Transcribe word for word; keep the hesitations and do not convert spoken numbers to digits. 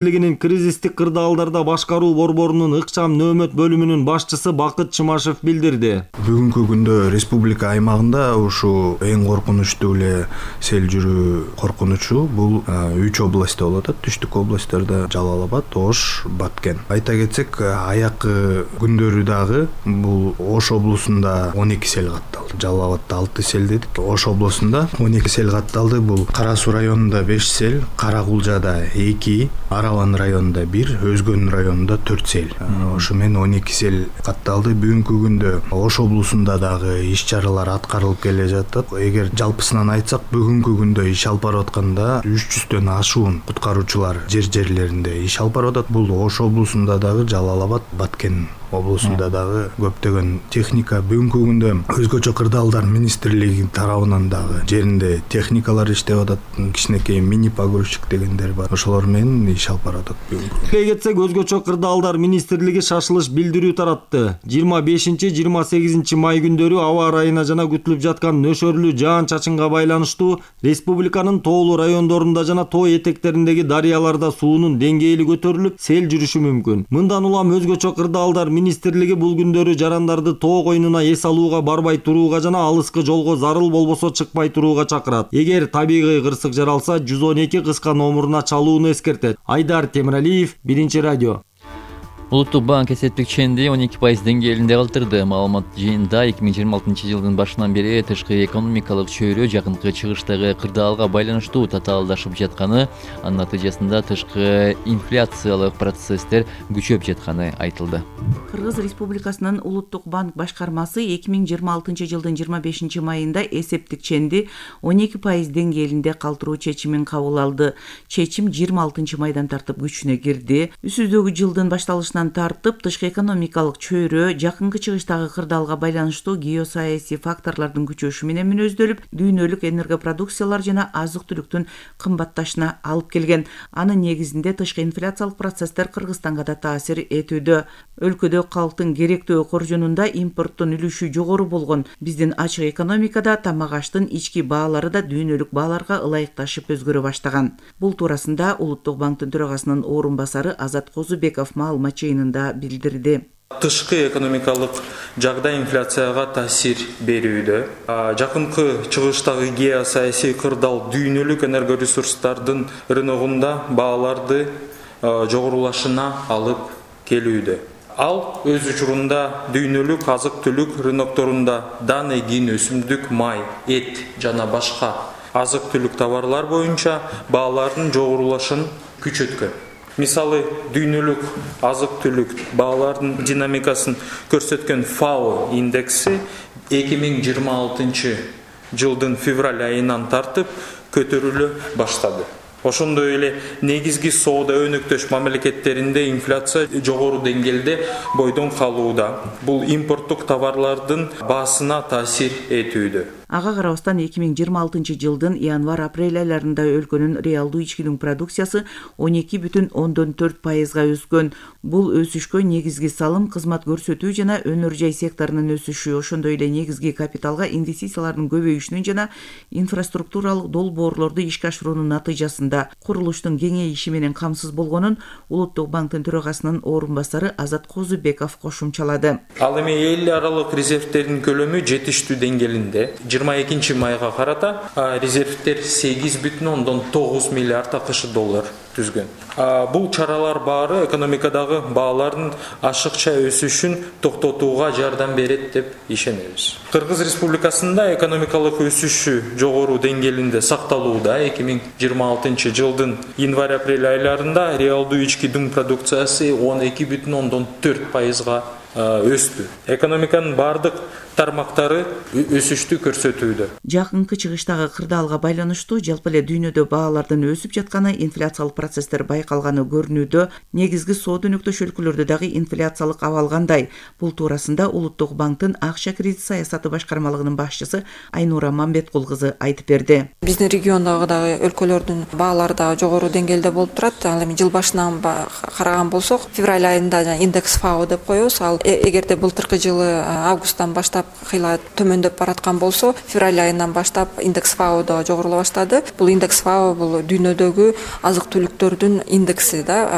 министрлигинин кризистик кырдаалдарда башкаруу борборунун ыкчам нөөмөт бөлүмүнүн башчысы Бакыт Чымашев билдирди. Бүгүнкү күндө республика аймагында ушу эң коркунучтуу эле сел жүрүү коркунучу бул үч областта болот. Түштүк областарда Жалал Абад, Ош, Баткен. Айта кетсек, аякы күндөрү дагы бул Ош облусунда он эки сел катталды. Жалал Абадда алты сел дедик. Ош облусунда он эки сел катталды. Бул Кара Суу районунда беш сел, Каракулжада эки, Араван районунда бир, Өзгөн районунда төрт сел. Ошо менен он эки сел катталды. Бүгүнкү күндө Ош облусунда дагы иш-чаралар аткарылып келе жатат. Эгер жалпысынан айтсак, бүгүнкү күндө иш алып барып атканда үч жүздөн ашуун куткаруучулар жер-жерлеринде иш алып барып атат. Бул Ош облусунда дагы, Жалал Абад, Баткен облусунда дагы көптөгөн техника. Бүгүнкү күндө өзгөчө кырдаалдар министрлиги тарабынан дагы жеринде техникалар иштеп атат. Кичинекей мини погрузчик дегендер бар. Ошолор менен иш алып барат. Бүгүнкү кетсек, өзгөчө кырдаалдар министрлиги шашылыш билдирүү таратты. жыйырма бешинчи жыйырма сегизинчи май күндөрү аба ырайына жана күтүлүп жаткан нөшөрлүү жаан-чачынга байланыштуу республиканын тоолуу райондорунда жана тоо этектериндеги дарыяларда суунун деңгээли көтөрүлүп, сел жүрүшү мүмкүн. Мындан улам өзгөчө кырдаалдар министрлиги бул күндөрү жарандарды тоо койнуна эс алууга барбай турууга жана алыскы жолго зарыл болбосо чыкпай турууга чакырат. Эгер табигый кырсык жаралса, жүз он эки кыска номуруна чалууну эскертет. Айдар Темиралиев, Биринчи радио. Улуттук банк эсептик ченди он эки пайыз деңгээлинде калтырды. Маалымат жыйынында эки миң жыйырма алтынчы жылдын башынан бери тышкы экономикалык чөйрө жакынкы чыгыштагы кырдаалга байланыштуу татаалдашып жатканы, анын натыйжасында тышкы инфляциялык процесстер күчөп жатканы айтылды. Кыргыз Республикасынын Улуттук банк башкармасы эки миң жыйырма алтынчы жылдын жыйырма бешинчи майында эсептик ченди он эки пайыз деңгээлинде калтыруу чечимин кабыл алды. Чечим жыйырма алтынчы майдан тартып күчүнө кирди. Үстүздөгү жылдын башталышынан тартып тышкы экономикалык чөйрө жакынкы чыгыштагы кырдаалга байланыштуу геосаясий факторлордун күчөшү менен мүнөздөлүп, дүйнөлүк энергопродукциялар жана азык-түлүктүн кымбатташына алып келген. Анын негизинде тышкы инфляциялык процесстер Кыргызстанга да таасир этүүдө. Өлкөдө калктын керектөө коржунунда импорттун үлүшү жогору болгон. Биздин ачык экономикада тамак аштын ички баалары да дүйнөлүк бааларга ылайыкташып өзгөрө баштаган. Бул туурасында Улуттук банктын төрагасынын орун басары Азат Козубеков маалымат жыйынында билдирди. Тышкы экономикалык жагдай инфляцияга таасир берүүдө. Жакынкы чыгыштагы геосаясий кырдаал дүйнөлүк энергоресурстардын рыногунда бааларды жогорулашына алып келүүдө. Ал өз учурунда дүйнөлүк азык-түлүк рынокторунда даны, кийин өсүмдүк, май, эт жана башка азык-түлүк товарлар боюнча баалардын жогорулашын күчөткөн. Мисалы, дүйнөлүк азык-түлүк баалардын динамикасын көрсөткөн ФАО индекси эки миң жыйырма алтынчы жылдын февраль айынан тартып көтөрүлө баштады. Ошондой эле негизги соода өнөктөш мамлекеттеринде инфляция жогору деңгээлде бойдон калууда. Бул импорттук товарлардын баасына таасир этүүдө. Ага карабастан эки миң жыйырма алтынчы жылдын январь-апрель айларында өлкөнүн реалдуу ичкилүк продукциясы он эки бүтүн ондон төрт пайызга өскөн. Бул өсүшкө негизги салым, кызмат көрсөтүү жана өнөр жай секторунун өсүшү, ошондой эле негизги капиталга инвестициялардын көбөйүшүнүн жана инфраструктуралык долбоорлорду ишке ашыруунун натыйжасында курулуштун кеңейиши менен камсыз болгонун Улуттук банктын төрагасынын орун басары Азат Козубеков кошумчалады. Ал эми эл аралык резервтердин көлөмү жетиштүү деңгээлинде. жыйырма экинчи майга карата резервтер сегиз бүтүн ондон тогуз миллиард акш доллар түзгөн. Бул чаралар баары экономикадагы баалардын ашыкча өсүшүн токтотууга жардам берет деп ишенебиз. Кыргыз Республикасында экономикалык өсүшү жогору деңгээлинде сакталууда. эки миң жыйырма алтынчы жылдын январь-апрель айларында реалдуу ички дүң продукциясы он эки бүтүн ондон төрт пайызга өстү. Экономиканын бардык тармактары өсүштү көрсөтүүдө. Жакынкы чыгыштагы кырдаалга байланыштуу жалпы эле дүйнөдө баалардын өсүп жатканы, инфляциялык процесстер байкалганы көрүнүүдө. Негизги соода өнөктөш өлкөлөрдө дагы инфляциялык абал кандай? Бул туурасында Улуттук банктын акча кредит саясаты башкармалыгынын башчысы Айнура Мамбеткул кызы айтып берди. Биздин региондогу дагы өлкөлөрдүн баалары да жогору деңгээлде болуп турат. Ал эми жыл башынан караган болсок, февраль айында индекс ФАО деп коебуз. Ал Э- эгерде былтыркы жылы августтан баштап кыйла төмөндөп бараткан болсо, февраль айынан баштап индекс фао да жогорулай баштады. Бул индекс фао бул дүйнөдөгү азык түлүктөрдүн индекси да.